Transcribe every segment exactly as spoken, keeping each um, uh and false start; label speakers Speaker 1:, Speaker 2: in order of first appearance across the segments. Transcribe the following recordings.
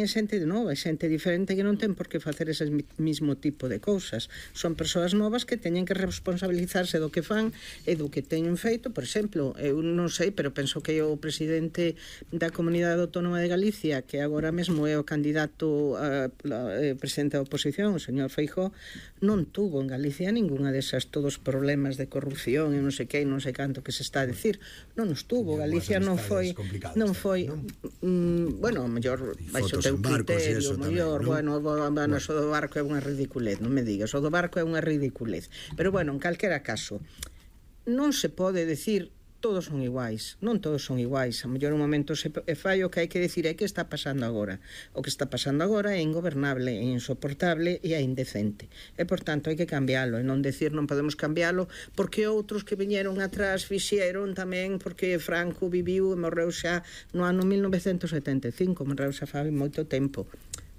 Speaker 1: é xente de nova, é xente diferente que non ten por que facer ese mismo tipo de cousas. Son persoas novas que teñen que responsabilizarse do que fan e do que teñen feito. Por exemplo, eu non sei, pero penso que o presidente da Comunidade Autónoma de Galicia, que agora mesmo é o candidato a, a, a presidente da oposición, o señor Feijóo, non tuvo en Galicia ninguna desas todos problemas de corrupción e non sei que, non sei canto que se está a decir. Non nos tuvo. Galicia non foi non foi mm, bueno, a mellor baixo teu criterio, mellor, bueno, bueno, o do barco é unha ridiculez, non me digas, o do barco é unha ridiculez. Pero bueno, en calquera caso, non se pode decir todos son iguais, non todos son iguais. A mellor un momento se fai o que hai que decir é que está pasando agora. O que está pasando agora é ingobernable, é insoportable e é indecente. E, por tanto, hai que cambiálo. E non decir non podemos cambiálo porque outros que viñeron atrás fixeron tamén, porque Franco viviu e morreu xa no ano mil novecentos setenta e cinco, morreu xa fai moito tempo.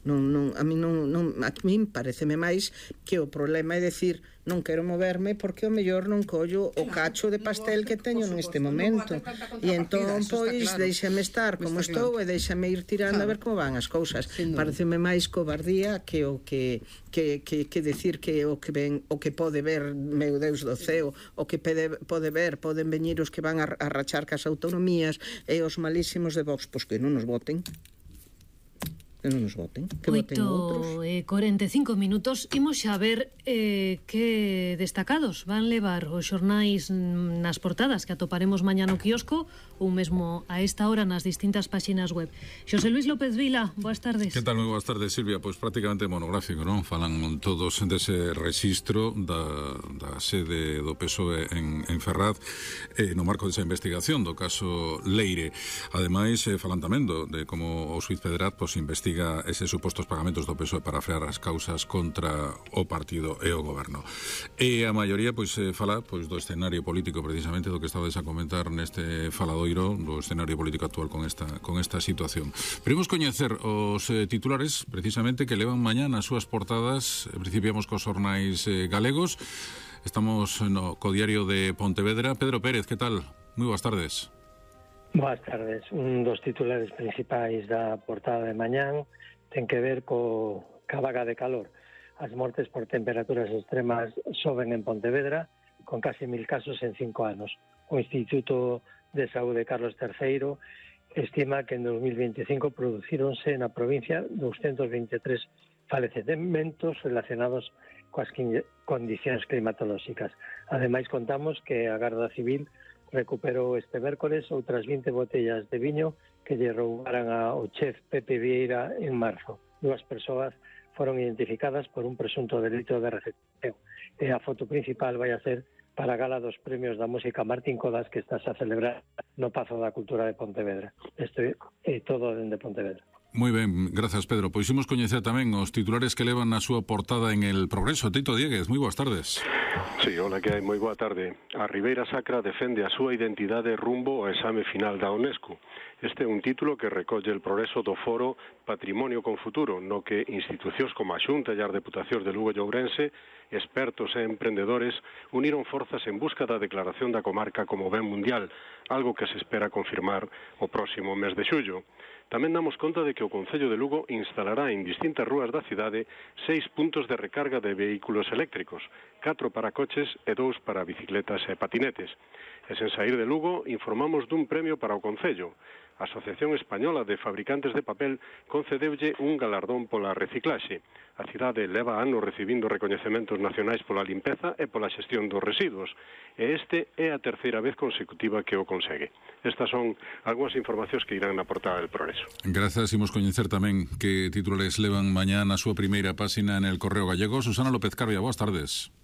Speaker 1: Non, non, a mí non, non, a mí pareceme máis que o problema é decir non quero moverme porque o mellor non collo o cacho de pastel que teño neste momento e entón pois deixame estar como estou e deixame ir tirando a ver como van as cousas. Pareceme máis cobardía que o que que, que, que decir que o que ven, o que pode ver, meu Deus do ceo, o que pode, pode ver, poden veñir os que van a, a rachar cas autonomías e os malísimos de Vox, pois que non nos voten. Que non nos voten, que voten outros.
Speaker 2: oito e cuarenta e cinco minutos. Imos xa ver eh, que destacados van levar os xornais nas portadas que atoparemos mañá no quiosco ou mesmo a esta hora nas distintas páxinas web. Xosé Luis López Vila, boas tardes.
Speaker 3: Que tal, moi boas tardes, Silvia? Pois prácticamente monográfico, non? Falan todos dese registro da, da sede do P S O E en, en Ferraz eh, no marco desa investigación do caso Leire. Ademais, eh, falan tamén do, de como o xuiz Pedrat pois, investiga eses supostos pagamentos do P S O E para frear as causas contra o partido e o goberno. E a maioría pois eh, fala pois do escenario político, precisamente do que estabades a comentar neste faladoiro, do escenario político actual con esta con esta situación. Primos coñecer os eh, titulares precisamente que levan mañá nas súas portadas. Principiamos cos xornais eh, galegos. Estamos no co diario de Pontevedra. Pedro Pérez, que tal? Moi boas tardes.
Speaker 4: Boas tardes. Un dos titulares principais da portada de mañán ten que ver co ca vaga de calor. As mortes por temperaturas extremas soben en Pontevedra, con casi mil casos en cinco anos. O Instituto de Saúde Carlos terceiro estima que en dos mil veinticinco producíronse na provincia doscientos vinte e tres falecementos relacionados coas condicións climatolóxicas. Ademais, contamos que a Garda Civil recuperou este mércores outras vinte botellas de viño que lle roubaran ao chef Pepe Vieira en marzo. Dúas persoas foron identificadas por un presunto delito de recepción. E a foto principal vai a ser para a gala dos premios da música Martín Codas que estás a celebrar no Pazo da Cultura de Pontevedra. Isto é todo dende Pontevedra.
Speaker 3: Moi ben, grazas Pedro. Pois imos coñecer tamén os titulares que levan na súa portada en El Progreso. Tito Diegues, moi boas tardes.
Speaker 5: Sí, hola, que hai, moi boa tarde. A Ribeira Sacra defende a súa identidade rumbo ao exame final da UNESCO. Este é un título que recolle El Progreso do foro Patrimonio con Futuro, no que institucións como a Xunta e as Deputacións de Lugo e Ourense, expertos e emprendedores, uniron forzas en busca da declaración da comarca como ben mundial, algo que se espera confirmar o próximo mes de xullo. Tamén damos conta de que o Concello de Lugo instalará en distintas rúas da cidade seis puntos de recarga de vehículos eléctricos, catro para coches e dous para bicicletas e patinetes. E sen sair de Lugo, informamos dun premio para o Concello. A Asociación Española de Fabricantes de Papel concedeulle un galardón pola reciclaxe. A cidade leva anos recibindo recoñecementos nacionais pola limpeza e pola xestión dos residuos, e este é a terceira vez consecutiva que o consegue. Estas son algunhas informacións que irán na portada del Progreso.
Speaker 3: Grazas, imos coñecer tamén que titulares levan mañá na súa primeira páxina en El Correo Gallego. Susana López Carbia, boas tardes.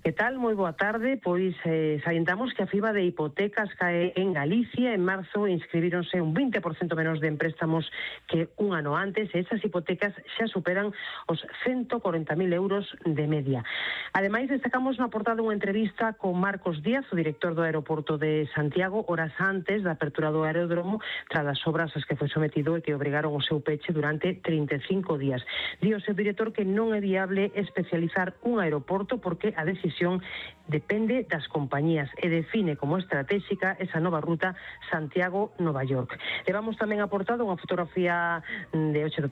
Speaker 6: Que tal? Moi boa tarde. Pois eh, salientamos que a FIBA de hipotecas cae en Galicia. En marzo inscribironse un vinte por cento menos de empréstamos que un ano antes e esas hipotecas xa superan os ciento corenta mil euros de media. Ademais, destacamos na portada unha entrevista con Marcos Díaz, o director do aeroporto de Santiago, horas antes da apertura do aeródromo, tras as obras as que foi sometido e que obrigaron o seu peche durante trinta e cinco días. Di o seu director que non é viable especializar un aeroporto porque a decisión depende das compañías e define como estratégica esa nova ruta Santiago-Nova York. Levamos tamén aportado unha fotografía de ocho